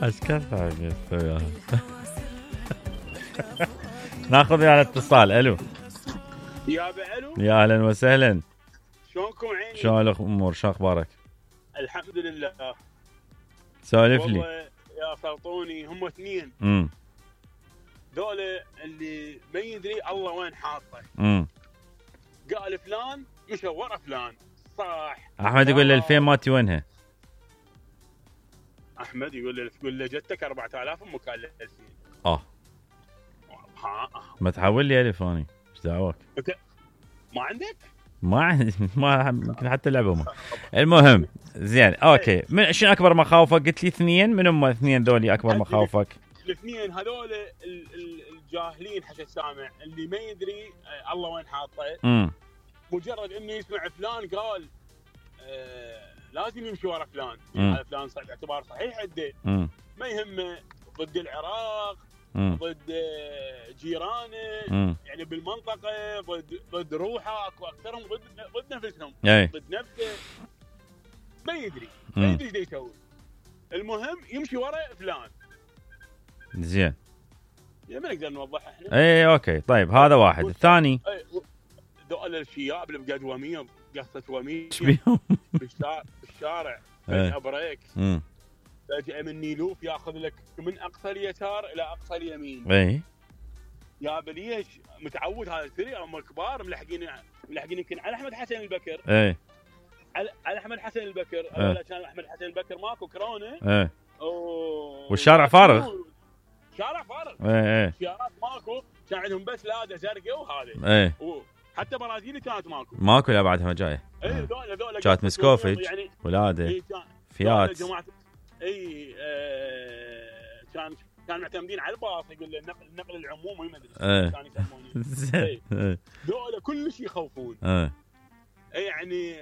اشكال ثانية. ناخذ على اتصال. الو يا الو، يا اهلا وسهلا. شلونكم عيني؟ شلون الامور؟ شو اخبارك؟ الحمد لله. سولف لي. والله يا سلطوني هم اثنين ذولا اللي ما يدري الله وين حاطه. قال فلان مشى ورا فلان صح. احمد يقول له الفين ماتي وينها؟ احمد يقول له جتك 4000 امك قال له 2000. ما تحول لي الف اني ايش دعوك؟ ما عندك؟ ما يمكن حتى لعبه ما. المهم زين اوكي. من شنو اكبر مخاوفك؟ قلت لي اثنين. من هم اثنين ذولي اكبر مخاوفك؟ الاثنين هذول الجاهلين حتى السامع اللي ما يدري الله وين حاطه. مجرد انه يسمع فلان قال لازم يمشي ورا فلان. هذا فلان صحيح اعتبار صحيح عنده. ما يهمه ضد العراق، ضد جيرانه، يعني بالمنطقه، ضد روحه. اكو اكثرهم ضد نفسهم، ضد نفسه. ما يدري ايش يسوي. المهم يمشي ورا فلان. زين ما نقدر نوضحها احنا. اي اوكي طيب هذا واحد. الثاني ذول الشياب اللي بقد وميه قصه وميه ايش بيهم؟ بالشارع فجأة بريك، فجأة من نيلوف ياخذ لك من اقصى اليسار الى اقصى اليمين. اي يا بليش متعود هذا السريع. هم الكبار ملحقين يمكن على احمد حسن البكر. على احمد حسن البكر. كان احمد حسن البكر ماكو كورونا. والشارع فارغ. شارع فارغ. سيارات ماكو، كان عندهم بس لاده زرقاء وهذا. حتى برازيلي كانت ماكو لا بعدها جايه. ذولا كانت مسكوفج يعني ولاده فيات. كان معتمدين على الباص. يقول له النقل العمومي ما ادري كانوا يسمونه. ذولا كل شيء يخوفون. يعني